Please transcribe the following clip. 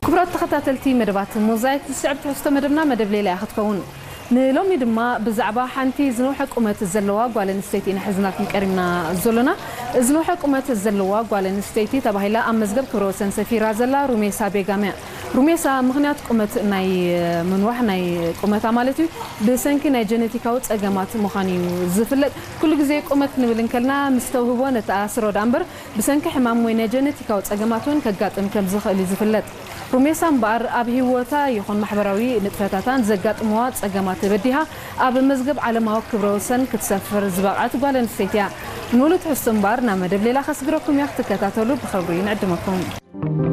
ክቡራት ተኸታተልቲ መደባት ሞዛይክ፣ ዝስዕብ ትሕዝቶ መደብና መደብ ሌላ እያ ክትከውን። ንሎሚ ድማ ብዛዕባ ሓንቲ ዝነውሐ ቁመት ዘለዋ ጓል ኣንስተይቲ ኢና ሒዝናልኩም ቀሪብና ዘሎና። ዝነውሐ ቁመት ዘለዋ ጓል ኣንስተይቲ ተባሂላ ኣብ መዝገብ ክብረ ወሰን ሰፊራ ዘላ ሩሜሳ ቤጋም እያ። ሩሜሳ ምኽንያት ቁመት ናይ ምንዋሕ ናይ ቁመታ ማለት እዩ ብሰንኪ ናይ ጀነቲካዊ ጸገማት ምዃኑ እዩ ዝፍለጥ። ኩሉ ግዜ ቁመት ክንብል እንከልና ምስ ተውህቦ ነተኣስሮ ደኣ እምበር ብሰንኪ ሕማም ወይ ናይ ጀነቲካዊ ጸገማት እውን ከጋጥም ከም ዝኽእል እዩ ዝፍለጥ። ሩሜሳ እምበኣር ኣብ ህይወታ ይኹን ማሕበራዊ ንጥፈታታን ዘጋጥምዋ ጸገማት በዲሃ ኣብ መዝገብ ዓለማዊ ክብረ ወሰን ክትሰፍር ዝበቕዐት ጓል ኣንስተይቲ እያ። ንሙሉእ ትሕዝቶ እምበኣር ናብ መደብ ሌላ ከስግረኩም እያ፣ ክትከታተሉ ብኽብሪ ንዕድመኩም።